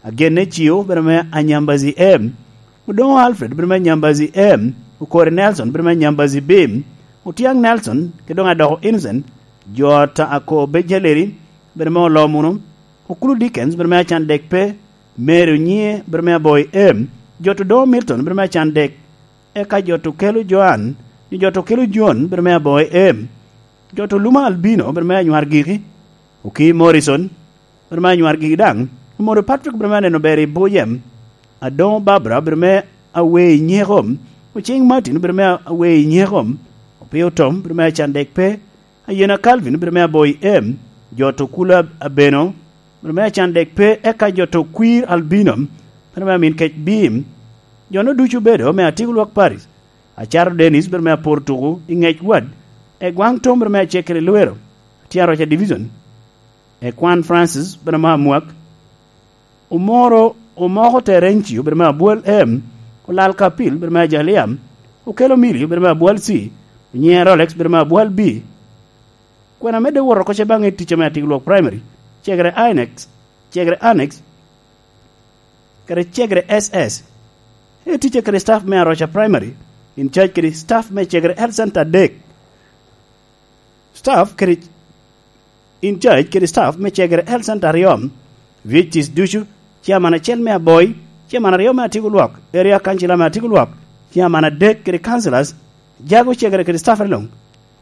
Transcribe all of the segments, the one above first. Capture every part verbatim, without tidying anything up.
Agenne Cio, bedo me Anyambazi M, Odongo Alfred, bedo me Anyambazi M, Okori Nelson, bedo me Anyambazi B, Otiang Nelson, kede doŋ Adoko Innocent, Jot Ako Bejaleri, bedo me Olomuno, Okulu Dickens, bedo me Acandek Pe, Mary Onyie, bedo me Aboi M, Jot Odongo Milton, bedo me Acandek, eka Jot Okelo Joan, nyo Jot Okelo John, bedo me Aboi M, Jot Oluma Albino, bedo me Anywar Giki, Oki Morrison, bedo me Anywar Giki daŋ, Omodo Patrick, bedo me Aneno Ber i Buc M, Adoŋo Barbara, bedo me Awe i Nyeko, Ocing Martin, bedo me Awe i Nyeko, Opio Tom, bedo me Acandek Pe, Ayena Calvin, bedo me Aboi M, Jot Okula Abeno, bedo me Acandek Pe, eka Jot Okwir Albino, bedo me Amin Kec Bim, jo-nu ducu obedo me Atiko Lwak Paris, Acato Dennis, bedo me Apor Tuku i Ŋec Wad, Egwaŋ Tom, bedo me Acekere Lwero, Tye Aroca Division, Ekwan Francis, bedo me Amwak, Omoro, Omoko Terencio, bedo me Abwal M, Olal Kapil, bedo me Ajalia, Okelo Milio, bedo me Abwal C, Onyiŋe Rolex, bedo me Abwal B. Kwena medde wot oko ce baŋ i ticca me Atiko Lwak Primary, Cegere Annex, Cegere Annex, kede Cegere S S. E ticca kede staff me Aroca Primary, in charge kede staff me Cegere Health Center adek. Staff kede in charge kede staff me Cegere Health Center aryo, V H Cs ducu, chairman acel me Aboi, chairman aryo me Atiko Lwak, area councilor me Atiko Lwak, chairman adek kede councilors, jago Cegere kede staff luŋ,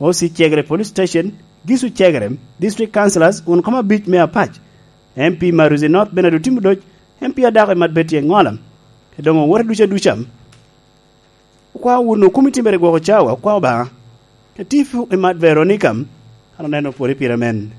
O C Cegere Police Station, Gisu Cegere, district councilors, wun koma abic me Apac, M P Maruzi North Bernard Otim Odoc, M P Adako Imat Betty Engola, kede doŋ owote ducu aduca. Okwao wunu kumi timere gwoko cawa, okwao Obaŋa. Katifu Imat Veronica, an oneno pwod i pire men.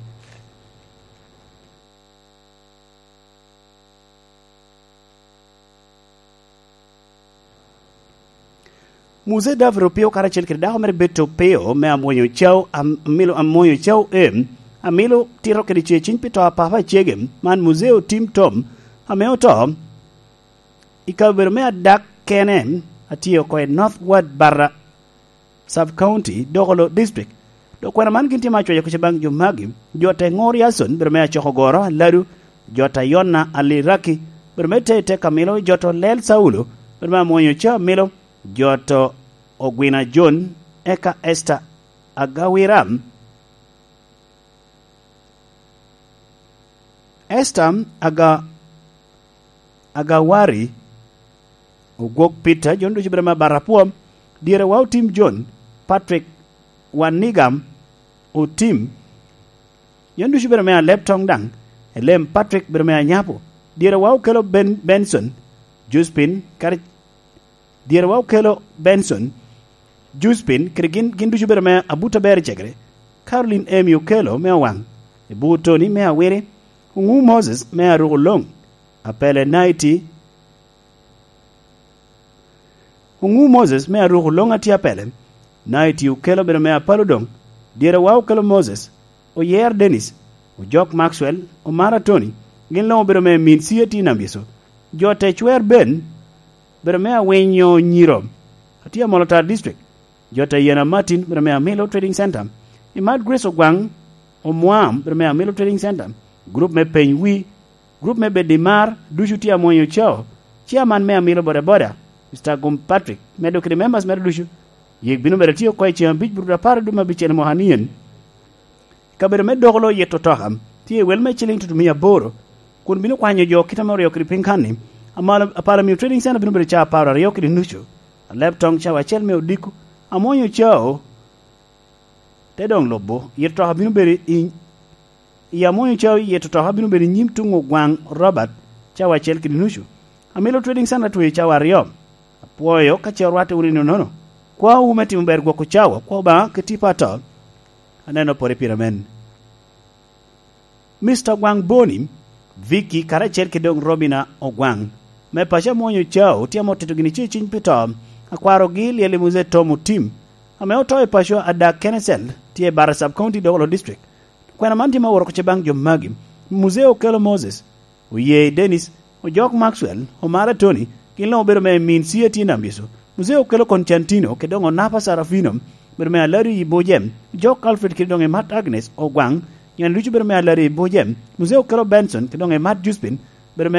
Muse David Opio karacel kede dako mere Betty Opio me Amwonyo Cao, Am-, Amilo Amwonyo Cao em, Amilo tito kede ce ciny pi to a papa acege, man Muse Otim Tom, ame oto i kabedo me adak kene, atye oko i North Ward Barra Sub County, Dokolo District. Dok kwena man gin tye ma acwaco kuca baŋ jo magi, jo te Ŋor Yason, bedo me Acoko Goro, Aladu, jo ta Yona, Aliraki, bedo me te, te Kamilo, jo to Lel Saulo, bedo me Amwonyo Ca Amilo, jo to Ogwina John, eka Esther Agawira, Esther Aga-, Agawari, Ogwok Peter, jo ducu bedo me Abarapwom, dyere wa Otim John, Patrick Wanigam Otim, jo ducu bedo me Alep Toŋ daŋ, Elem Patrick bedo me Anyapo, dyere wa Okelo Ben-, Benson, Josephine, kadi Dyere wa Okelo Benson, Juspin, kede gin, gin ducu bedo me Abuta Ber Cegere, Caroline Emi Okelo me Owaŋ, Ebu Tony me Awiri, Oŋu Moses me Aruko Loŋ, Apele Naiti, Oŋu Moses me Aruko Loŋ atye Apele, Naiti Okelo bedo me Apalo Doŋ, dyere wa Okelo Moses, Oyer Dennis, Ojok Maxwell, Omara Tony, gin luŋ obedo me min C A T Nambyeco. Jo te Cwer Ben, bedo me Awinyo Nyiro, atye Amolo Tar District. Jo te Yena Martin, bedo me Amilo Trading Center. Imat Grace Ogwaŋ, Omwam, bedo me Amilo Trading Center. Grup me Peny Wi, grup me Bedimar, ducu tye Amwonyo Cao. Chairman me Amilo Boda Boda, Mister Gum Patrick, medo kede members mere ducu. Yik bino bedo tye oko i ceŋ abic burut apar dwe me abicel mwaka nien. Kabedo me Dokolo yito toka tye i wel me ciliŋ tutumia aboro, kun bino kwanyo jo kite ame oryo kede piny kan-ni. Amalo, Apala Miyo Trading Center bino bedo ca apar aryo kede nucu, Alep Toŋ cawa acel me odiko, Amwonyo Cao te doŋ lubo. Yito toka bino bedo i, i Amwonyo Cao, yito toka bino bedo i nyim tuŋ Ogwaŋ Robert cawa acel kede nucu. Amilo Trading Center tweyo cawa aryo. Apwoyo ka ce orwatte wunu i nonono. Kwawu me timo ber gwoko cawa, kwa Obaŋa kede tipo ato. Aneno pore pire men. Mister Ogwaŋ Boni, Vicky, karacel kede doŋ Robina Ogwaŋ, me paco Amwonyo Cao, tye ame otito gini ce ciny pi to, akwarogi lyel i Muzee Tom Otim, ame oto i paco Adak Kenesel, tye i Barra Sub County, Dokolo District. Kwena man tye ma oworo oko ce baŋ jo magi, Muzee Okelo Moses, Oye Dennis, Ojok Maxwell, Omara Tony, gin luŋ obedo me min C A T Nambyeco, Muzee Okelo Constantino, kede doŋ Onapa Sarafino, bedo me Alari i Bujem, Ojok Alfred kede doŋ Emat Agnes Ogwaŋ, nyen ducu bedo me Alari i Bujem, Muzee Okelo Benson, kede doŋ Emat Juspin, bedo me